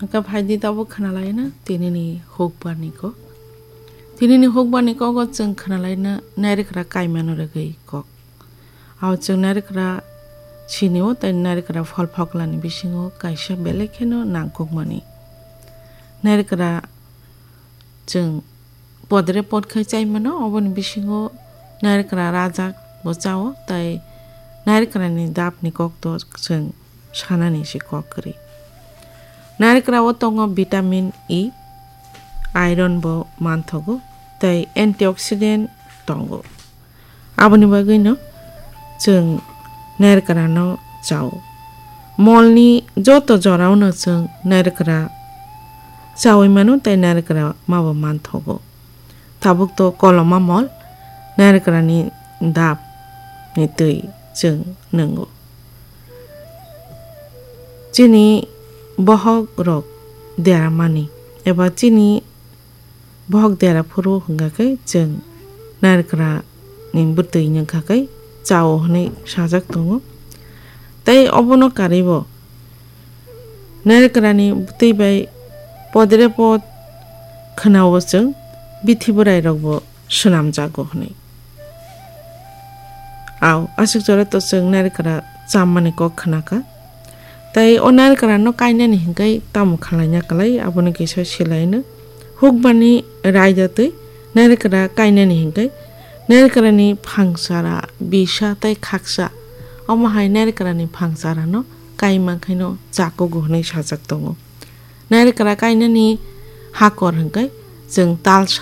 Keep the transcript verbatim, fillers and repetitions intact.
Hwnkhe phaidi tabuk khwnalaina tinini hukbarni kok. Tinini hukbarni kogo chwng khwnalaina nairikra kaimano rwgwi kok. Ao chwng nairikra sinio tei nairikra phol phoklani bisingo kaisa belai kheno nangkukmani. Nairikra chwng podre pod khai chai mano, oboni bisingo nairikra rajak bo chao, tei nairikrani dapni kokto chwng sanani se kok kwrwi. Nairikrao tongo vitamin E, iron bo manthogo, tei antioxidant tongo. Aboni bagwino chwng nairikrano chao. Molni joto jorao no chwng nairikra chawi mano tei nairikra mabo manthogo. Tabuk to koloma mol nairikrani dap ni twi chwng nwngo. Chini bohok rok deramani eba chini bohok dera phuru hwnkha khe chwng nairikra ni bwtwi nungkha khe chao hwnwi sajak tongo. Tei obono karwi bo nairikrani bwtwi bai podre pod khwnao chwng bithi bwrai rok bo swnamjago hwnwi. Ao, aswk jora to chwng nairikra chammani kok khwnakha. Tei o nairikra no kainani hinkai tamo khwlaina kwlai, abono kisa silaino. Hukbani raida twi nairikra kainani hinkai nairikrani phangsara, bisa tei khaksa, omo hai nairikrani phangsara no kaima khaino chakugo hwnwi sajak tongo. Nairikra kainani hakor hinkai chwng talsa